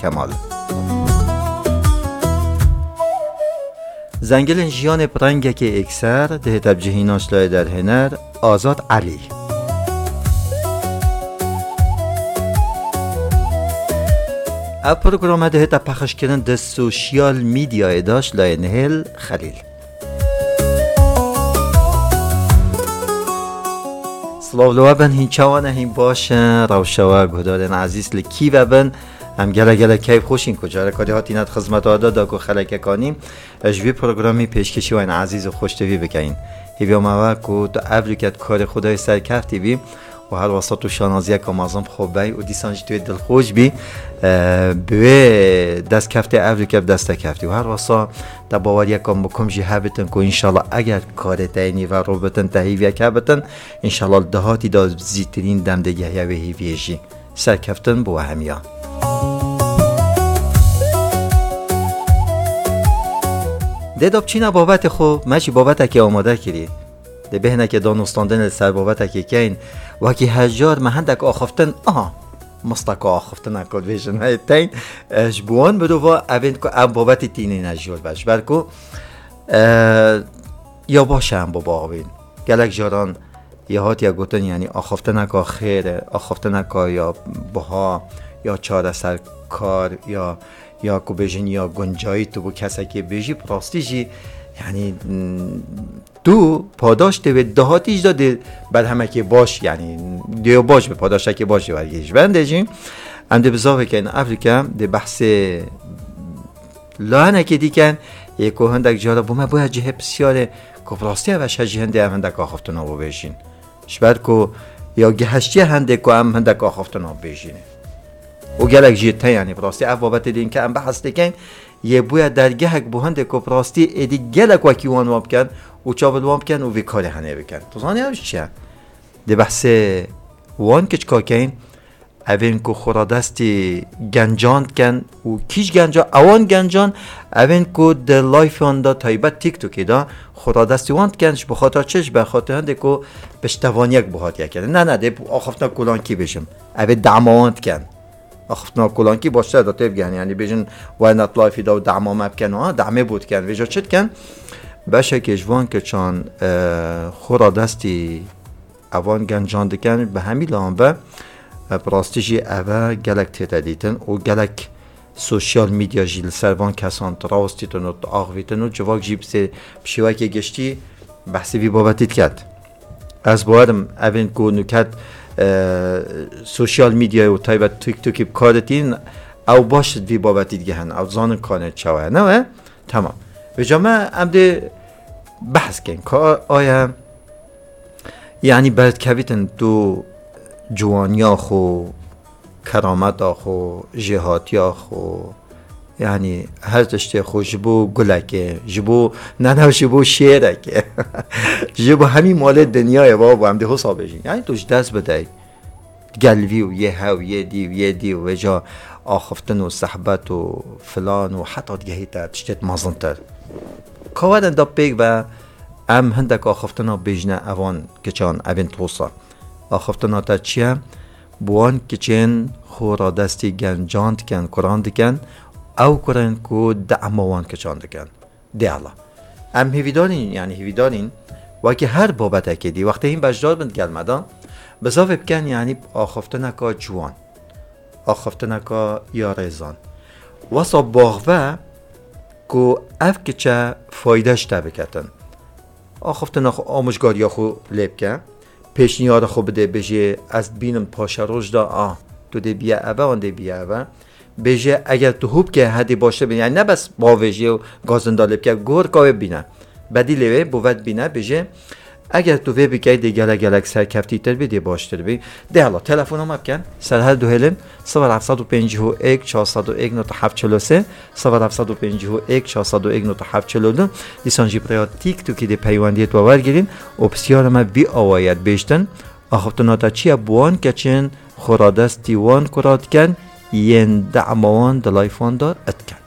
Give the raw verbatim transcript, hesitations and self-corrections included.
Kemal. Zengilên jiyanê bi rengekê êkser dihête bi cihînan ji layê derhêner Azad Elî. Ev programe dihête pexişkirin di sosyal medyayê de ji layê Nihêl Xelîl. Silav li we bin, hîn çawa ne, hîn baş in? Rewşa we, guhdarên ezîz, li kî ve bin? Em gelek gelek keyf xweş in ku careka dî hatîne di xizmeta we de, da ku xelekek anî ji vî programî pêşkêşî we yên ezîz û xweştevî bikeyin. Hêviya me we ku tu evroke di karê xwe de yê serkeftî bî û her wesa tu şanaziyeka mezin bi xwe bey û dîsan jî tu yê dilxweş bî, e, bi wê destkeftê evroke bi dest te keftî û her wesa te baweriyeka mukim jî hebitin ku înşallah eger karê te yê nîverû bitin, te hêviyek hebitin, înşallah li dahatî de zîtirîn dem dê gehiya wê hêviyê jî. Serkeftin bi we hemiya. Dê da biçîna babetê xwe, me jî babetekê amade kirî. Dê bê hinekê danûstandinê li ser babetekê keyin, wekî her car me hindek axiftin, aha, misteka axiftina ku dibêjin heye teyn, e, ji bo wan mirova evên ku ev babetê tînîne jor be. Ji ber ku, e, ya baş e em bibaxivîn. Gelek caran ya hatiye gotin, yanî axiftineka xêr e, axiftineka ya buha, ya çareserkar, ya, ya ku bêjin ya guncayî tu bo kesekê bêjî, bi rastî jî, yanî, mm, tu padaş tê wê dahatî jî de dê berhemekê baş, yanî dê baş be, padaşekê baş jî wergê. Ji ber hindê jî em dê bizavê keyin, evroke dê behsê layenekê dî ken, yê ku hindek cara bo me bûye cihê pisyarê ku bi rastî ev e, ji hindê em hindek axiftina bibêjin. Ji ber ku ya giheştiye hindê ku em hindek axiftina bibêjînê. Û gelek jî te, yanî bi rastî ev babetê dîn ke em behs dikin, yê bûye dergehek bo hindê ku bi rastî êdî gelek wekî wan wan bikin û çav li wan bikin û vî karê henê bikin. Tu zanî ev ji çi ye? Dê behsê wan kiçka keyin, evên ku xwe radestî gencan dikin û kîj genca, ewan gencan, evên ku di layfan de, taybet TikTokê de xwe radestî wan dikin, ji bo xatir çi? Ji ber xatir hindê ku piştevaniyek bo hatiye kirin. Ne, ne, dê axiftina kolankî bêjim. Evê dema wan dikin. Axiftina kolankî baştir e da tê bigihîn. Yanî bêjin were nat lifî de û dema me bikin û ha demê bo dikin. Vêca çi dikin? Beşekê ji van keçan, e, xwe radestî evan gencan dikin. Bi hemî lan ve, e, bi rastî jî eve gelek tête dîtin û gelek sosyal medya jî li ser van kesan dirawestîtin û diaxivîtin û civak jî bi sê-, bi şêwekê giştî behsê vî babetî diket. Ez bawerim evên ku nuket, e, sosyal medyayê û taybet TikTokê bi kar ditînin, ew baş vî babetî digihin, ew zanin kanê çawa ye. Ne we? Tamam. Vêca me em dê behs kein. Ka aya, yanî berdikevîtin tu ciwaniya xwe, kerameta xwe, jêhatiya xwe, yanî her tiştê xwe ji bo gulekê, ji bo, ne, ne, ji bo şêrekê, ji bo hemî malê dinyayê, babo, em dê hosa bêjin. Yanî tu ji dest bidey. Gel vî û yê hew, yê dî û yê dî û vêca axiftin û sehbet û filan û heta digehîte tiştêt mezintir. Ka werin da pêk ve em hindek axiftina bêjine evan kiçan, evên tosa. Axiftina te çi ye? Bi wan kiçên xwe radestî gencan dikin, kuran dikin, ew kurên ku dema wan kiçan dikin. Dê Allah. Em hêvîdarîn, yanî hêvîdarîn, wekî her babetekê dî, wextê hîn beşdar bin gel me de, bizavê bikin, yanî axiftineka ciwan, axiftineka ya rêzan. Wesa baxve ku ev kiçe fayde ji te biketin. Axiftina xwe, amûjgariya xwe lê bike, pêşniyara xwe bide, bêjê, ez dibînim paşeroj de, a, tu dê biye eve, wan dê biye eve. Bêje, eger tu hû bike, hedê baştir bîne. Yanî ne bes bavêjê û gazinda lê bike, gorka wê bîne. Bedîlê wê bo ve dibîne, bêje, eger tu vê bikey, dê gelek gelek serkeftîtir bî, dê baştir bî. Dê hala, telefona me bikin, ser her du hêlin, sifir heft sed û pêncî û yek, çar sed û yek, nod heft çil û sê, sifir heft sed û pêncî û yek, çar sed û yek, nod heft çil û du. Dîsan jî bi rêya TikTokê dê peywendiyê tu wer girîn û pisyara me vî awayî ye dibêjtin. Axiftina te çi ye? Bi wan keçên xwe radestî wan kura dikin, yên dema wan di layfan de dikin.